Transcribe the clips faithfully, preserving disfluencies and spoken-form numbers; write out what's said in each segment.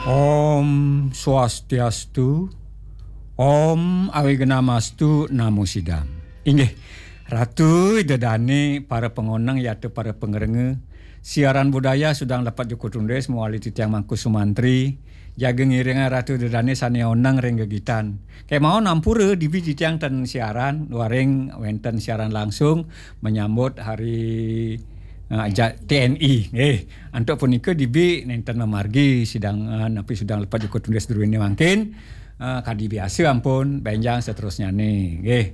Om Swastiastu, Om Awignamastu Namo Sidam. Inggih, Ratu Ida Dane, para pangoneng yata para pangrengga, siaran budaya Sudang Lepet Jukut Undis mawali titiang Mangku Sumantri, jaga ngiringang Ratu Ida Dane sane oneng ring gegitan. Kemawon ampura dibi titiang ten siaran, duaning wenten siaran langsung menyambut hari, eh, ja-, T N I. Eh, antuk punika dibi nenten mamargi sidang, eh, napi Sudang Lepet Jukut Undis druene mangkin, eh, kadi biasa ampun benjang seterusnyane. Nggih.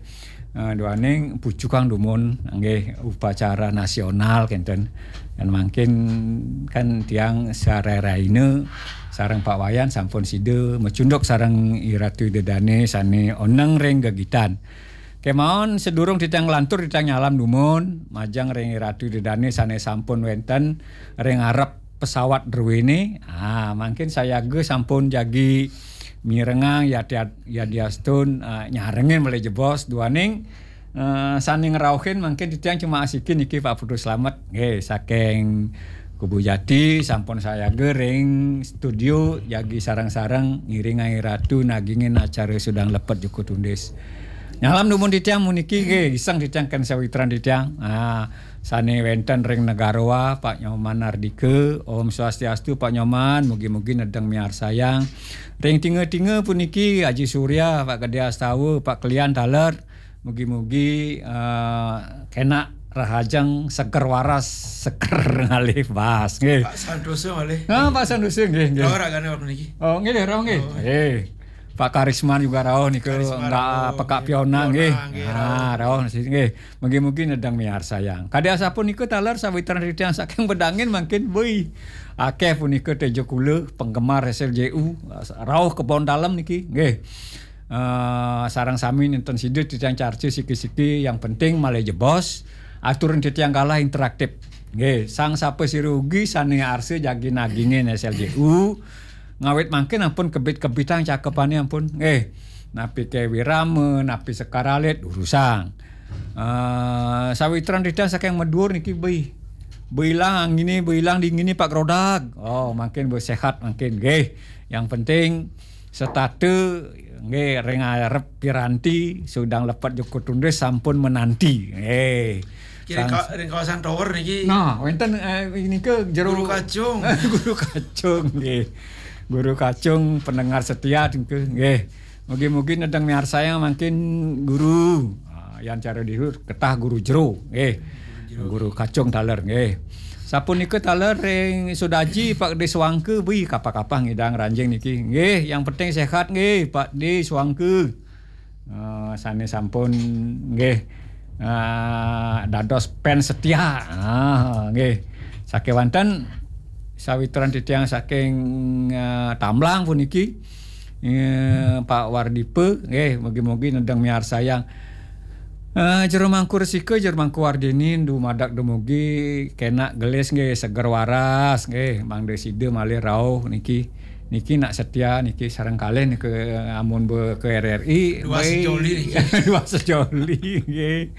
Eh, duaning pucukang dumun, nggih, upacara nasional kenten. Yan mangkin kan tiang sarereh rahina sareng Pak Wayan sampun sida macunduk sareng I Ratu Ida Dane sane oneng ring gegitan. Kemawon sadurung titiang nglantur titiang nyalam dumun majeng ring I Ratu Ida Dane sane sampun wenten ring arep pesawat druene. Ah, mangkin sayaga sampun jagi mirengang yati-, yadiastun, ah, nyarengin malih jebos duaning, eh, sane ngrauhin mangkin titiang cuma asikin niki Pak Putu Slamet. Nggih, saking Kubu Jati sampun sayaga ring studio jagi sareng-sareng ngiringang I Ratu nagingin acara Sudang Lepet Jukut Undis. Nyalam dumun titiang puniki nggih, gising titiang ken sawitran titiang. Ah, sane wenten ring Negara Wah, Pak Nyoman Ardika. Om Swastiastu, Pak Nyoman, mugi-mugi nedeng miarsayang. Ring Tinga-tinga puniki Aji Surya, Pak Gede Astawa, Pak Klian taler. Mugi-mugi, eh, kenak rahajeng seger waras, seger ngalih bas, nggih. Pak Santosa malih. Ah, Pak Santosa, nggih, nggih. Rauh ragane waktu niki. Oh, nggih, rauh, nggih. Oh. Eh, Pak Karisma juga rauh nika, Karisma enggak rauh, pekak nggih. Piona, nggih. Piona, nggih, ah, rauh. Rauh niki, nggih. Mugi-mugi nedeng miarsayang. Kadi asapunika taler sawitran titiang saking Bedangin mangkin, beuh. Akeh punika teja kula penggemar S L J U, rauh kebon dalem niki, nggih. Eh, sareng sami nenten sida titiang carca siki-siki, yang penting malih jebos, aturan titiang galah interaktif. Nggih, sang sapa sira ugi sane arsa jagi nagingin S L J U, ngawit mangkin ampun kebit-kebitang cakepane ampun. Nggih, napi ke Wirama, napi Sekar Alit, durusang. Eh, sawitran titiang saking Medur niki, beuh. Beuh ilang angine, beuh ilang dingine Pak Grodag. Oh, mangkin beuh sehat mangkin, nggih. Yang penting setata nggih ring arep piranti Sudang Lepet Jukut Undis sampun menanti. Nggih. Kira sang ka-, ring kawasan tower niki. Nah, wenten, eh, nika jero Guru Kacung. Guru Kacung, nggih. Guru Kacung pendengar setia nika, nggih. Mugi-mugi nedeng miarsayang mangkin guru. Ah, yan cara dihur ketah guru jero, nggih. Guru jero. Guru Kacung taler, nggih. Sapunika taler ring Sudaji Pak Gede Suangke, beuh, kapah-kapah ngidang ranjing niki. Nggih, yang penting sehat nggih, Pak Gede Suangke. Eh, sane sampun nggih, eh, dados fans setia. Ah, nggih. Sakewanten sawitran titiang saking, eh, Tamblang puniki. Eh, Pak Wardipa, nggih, mugi-mugi nedeng miarsayang. Eh, Jero Mangku Resika, Jero Mangku Wardini, dumadak dumugi kenak gelis nggih, seger waras nggih, mangda sida malih rauh niki. Niki nak setia niki sareng kalih niki amun be ke R R I. Dua beuh. Sejoli niki. Dua sejoli nggih.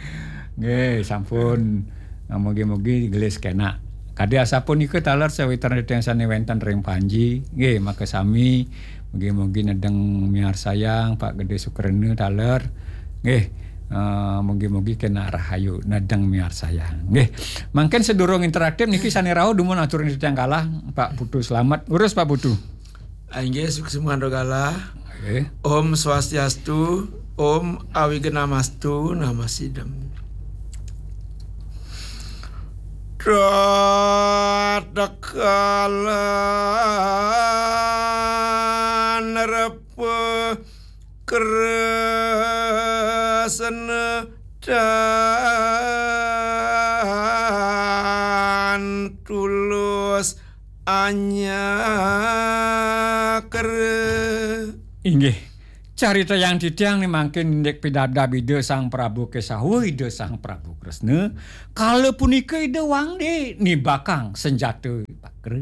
Nggih, sampun. Nah, mugi-mugi gelis kenak. Kadi asapunika taler sawitran titiang sane wenten ring Panji. Nggih, makasami. Mugi-mugi nedeng miarsayang Pak Gede Sukrena taler. Nggih. Eh, mugi-mugi kenak rahayu nedeng miarsayang. Nggih. Mangkin sedurung interaktif niki sane rauh dumun aturin titiang galah Pak Putu Slamet. Urus Pak Putu. Inggih, suksma galah. Nggih. Om Swastiastu, Om Awignamastu Namo Sidam. Tatkala nerepa kresna tan tulus anyakra. Inggih. Carita yang titiang ni mangkin indik pidabdab Ida Sang Prabu Kesawa, Ida Sang Prabu Kresna. Kala punika Ida wangde nibakang senjata pakra.